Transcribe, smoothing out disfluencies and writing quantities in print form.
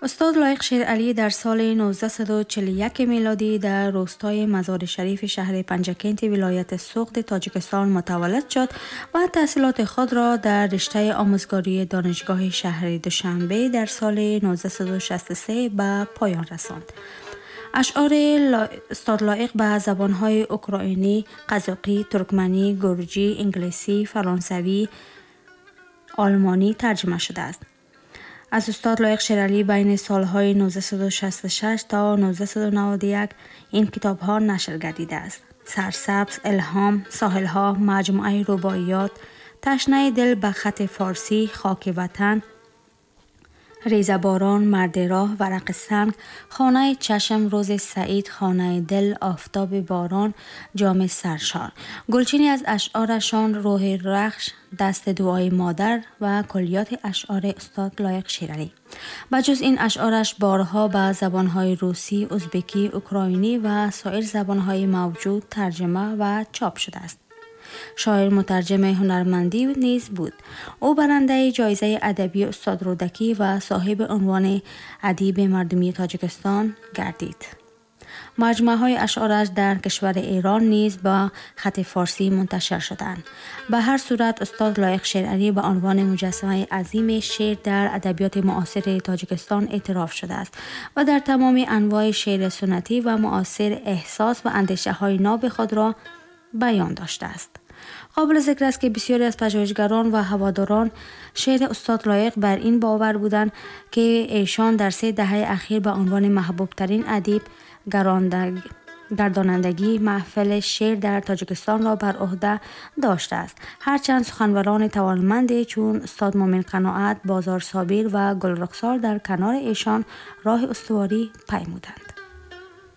Устод Лоиқ Шералӣ дар соли 1941 милодӣ дар روستای مزار شریف شهر پنجکنت ولایت سغد تاجیکستان متولد شد و تحصیلات خود را در رشته آموزگاری دانشگاه شهر دوشنبه در سال 1963 به پایان رساند. اشعار استاد لایق به زبانهای اوکراینی، قزاقی، ترکمنی، گرجی، انگلیسی، فرانسوی، آلمانی ترجمه شده است. از استاد لایق شیرعلی بین سالهای 1966 تا 1991 این کتاب ها نشر گردیده است. سرسبز، الهام، ساحلها، مجموعه رباعیات، تشنه دل به خط فارسی، خاک وطن، ریزه باران، مرد راه، ورق سنگ، خانه چشم، روز سعید، خانه دل، آفتاب باران، جام سرشار. گلچینی از اشعارشان روح رخش، دست دعای مادر و کلیات اشعار استاد لایق شیرعلی. بجز این اشعارش بارها به زبانهای روسی، ازبکی، اوکراینی و سایر زبانهای موجود ترجمه و چاپ شده است. شاعر مترجم هنرمندی نیز بود. او برنده جایزه ادبی استاد رودکی و صاحب عنوان ادیب مردمی تاجیکستان گردید. مجموعه های اشعارش در کشور ایران نیز با خط فارسی منتشر شدند. به هر صورت استاد لایق شیرعلی به عنوان مجسمه عظیم شعر در ادبیات معاصر تاجیکستان اعتراف شده است و در تمام انواع شعر سنتی و معاصر احساس و اندیشه های ناب خود را بیان داشته است. قابل ذکر است که بسیاری از پژوهشگران و هواداران شعر استاد لایق بر این باور بودند که ایشان در 3 دهه اخیر به عنوان محبوب ترین ادیب گردانندگی محفل شعر در تاجیکستان را بر عهده داشته است. هرچند سخنوران توانمندی چون استاد مومن قناعت، بازار صابر و گلرخسار در کنار ایشان راه استواری پیمودند.